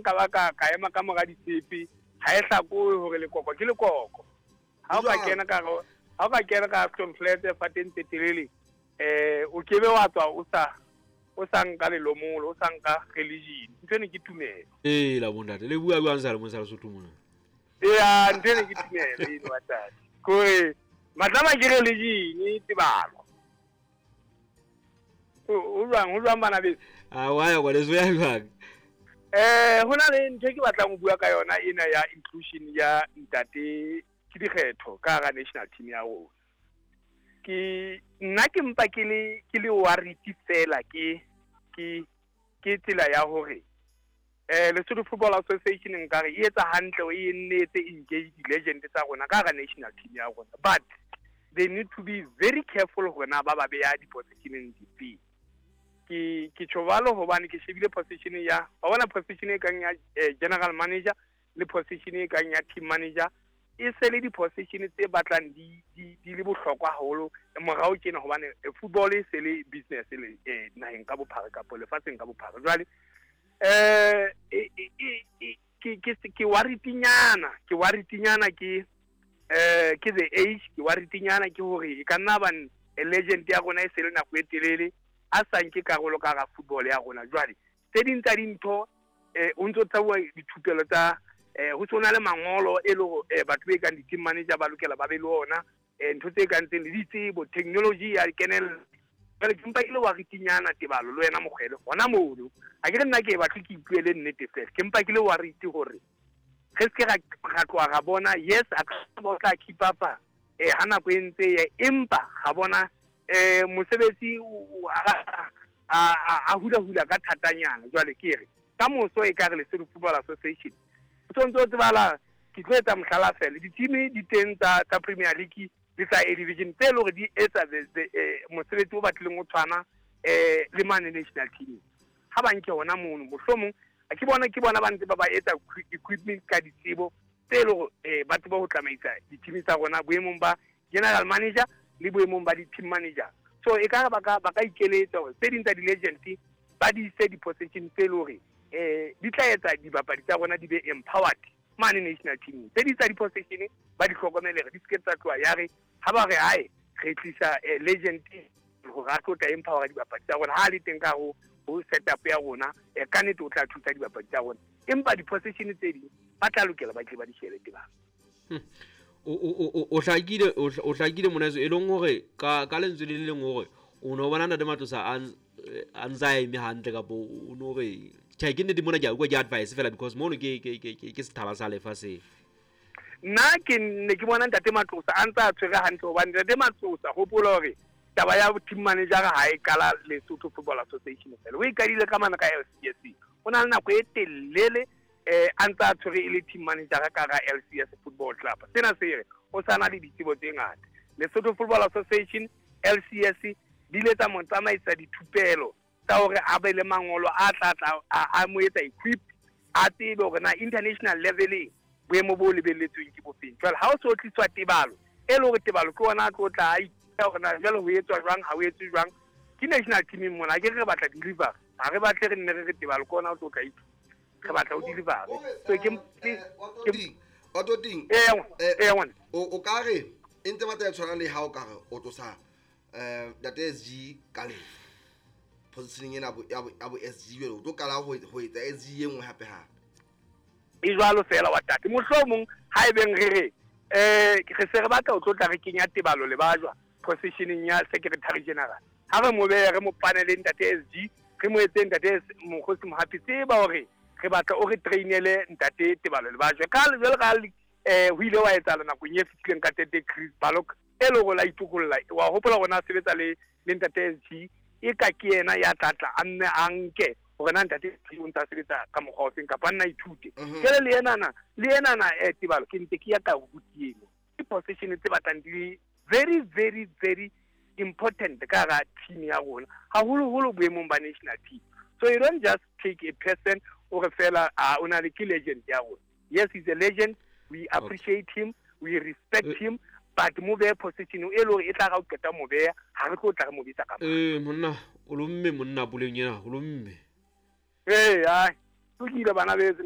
nka ba ka ema ka mora ditshepe, ha e hlakoe hore lekoko ke lekoko. Ha o ka kena ka ha o ka kena ka Aston Flat fateng tse telele, o kebe wa tswa o sa nka lelomolo, o sa nka religion. Ntho eno ke tumelo. Ee la bontate le bua jwang sa le mo sa Lesotho mona? Ee, ntho eno ke tumelo eno wa tate. Kore matlama ke religion tebalo. O jwang bana beso? A wa ya kwa leso ya jwang? Ho na le ntho e ke batlang ho bua ka yona ena ya inclusion ya ntate ke dikgetho ka hara national team ya rona. Ke nna ke mpa ke le worried fela ke tsela ya hore Lesotho Football Association nkare e etsa hantle o e nnetse engage di-legend tsa rona ka hara national team ya rona, but they need to be very careful hore na ba beya di-positioneng dife. Ke tjho jwalo hobane ke shebile position ya wa bona position e kang ya general manager le position e kang ya team manager e se le di-position tse batlang di le bohlokwa haholo morao tjena, hobane football e se le business le naheng ka bophara kapa lefatsheng ka bophara. Jwale ke worried-nyana ke ke the age, ke worried-nyana ke hore e ka nna ba legend ya rona e se le nako e telele a sa nke karolo ka hara football ya rona. Jwale tse ding tsa dintho o ntso tsabuwa dithupelo tsa ho sona le mangolo e le hore batho be kang di-team manager ba lokela ba be le ona, ntho tse kang tseng le ditsebo, technology ya kenella. Jwale ke mpa ke le worried-nyana Tebalo le wena Mokgwele hona mono. Ha ke re nna ke batle ke ipuele nnete fela, ke mpa ke le worried hore re se ke ra tloha ra bona yes a ka ba o tla keep up ha nako e ntse ya, empa ga bona mosebetsi a hula ka thatanyana. Jwale ke re ka moso e ka re Lesotho Football Association o tsontso tsebala ke tlo etsa mohlala fela di-team di teng tsa Premier League le tsa A Division tse leng hore di etsa mosebetsi o batlileng o tshwana le mane national team. Ha ba nke hona mono mohlomong ke bona ba ntse ba etsa equipment ka ditsebo tse leng hore ba tseba ho tsamaisa di-team tsa rona boemong ba general manager le boemong ba di-team manager. So e ka ba ka ikeletsa hore tse ding tsa di-legend ba di ise di-position tse leng hore di tla etsa dibapadi tsa rona di be empowered mane national team. Tse ding tsa di-position ba di hlokomele di se ke tsa tloha ya re ha ba re hae re tlisa legend hore a tlo tla empower dibapadi tsa rona ha le teng ka ho setup ya rona, ka nnete o tla thusa dibapadi tsa rona, empa di-position tse ding ba tla lokela ba tle ba di shebe tebang. O hlakile monaso e leng hore ka lentswe le leng hore o no bona ntate Matlosa a ntsa eme hantle kapo o no re tjhe ke nnete mona ke a utlwa ke advice fela because mono ke sethala sa lefatshe. Nna ke ne ke bona ntate Matlosa a ntsa a tshwere hantle hobane ntate Matlosa hopola hore taba ya team manager ha e qala Lesotho Football Association fela o e qadile ka mana ka LCS. O na le nako e telele a ntsa a tshwere e le team manager ka hara LCS Football Club. Sena se re o sana le ditsebo tse ngata. Lesotho Football Association LCS di ile tsa mo tsamaisa dithupelo tsa hore a be le mangolo a tla a mo etsa equip, a tsebe hore na international leveleng boemo bo lebelletsweng ke bofeng. Jwale ha o so tliswa Tebalo e le hore Tebalo ke ona a tlo tla a ithuta hore na jwale ho etswa jwang, ha ho etswe jwang ke national team mona. Ha ke re batla deliver, ha re batle re nne re re Tebalo ke ona o tlo tla ithuta, re batla o deliver. So ke o o ka re e ntse batla tshwana le ha o ka re o tlosa ntate SG ka lefa positioning ena ya bo SG jwale o tlo qala ho etsa SG e nngwe hape hape e jwalo fela wa tate. Mohlomong ha e beng re re re se re batla o tlo tla re kenya Tebalo le bajwa positioning ya secretary general, ha re mo behe re mo panele ntate SG, re mo etse ntate Mokgosi Mohapi tseba hore re batla o re trainele ntate Tebalo le bajwa ka jwalo ka ho ile wa etsahala nakong e fetileng ka tete Chris Balok e le hore la itokolla wa hopola rona a sebetsa le ntate SG e ka ke yena ya tlatla a nne a nke hore na ntate SG o ntse a sebetsa ka mokgwa o feng kapa a nna ithute. Jwale le enana Tebalo ke ntse ke ya ka rutieng ke position tse batlang di le very very very important ka hara team ya rona haholoholo boemong ba national team. So you don't just take a person o re fela o na le ke legend ya rona. Yes, he's a legend, we appreciate him, we respect him, but mo behe position e le hore e tla ra o qeta mo beha ha re tlo tla re mo bitsa ka mang. Monna o lomme monna puleng ena o lomme. Ee, ai lokile bana beso.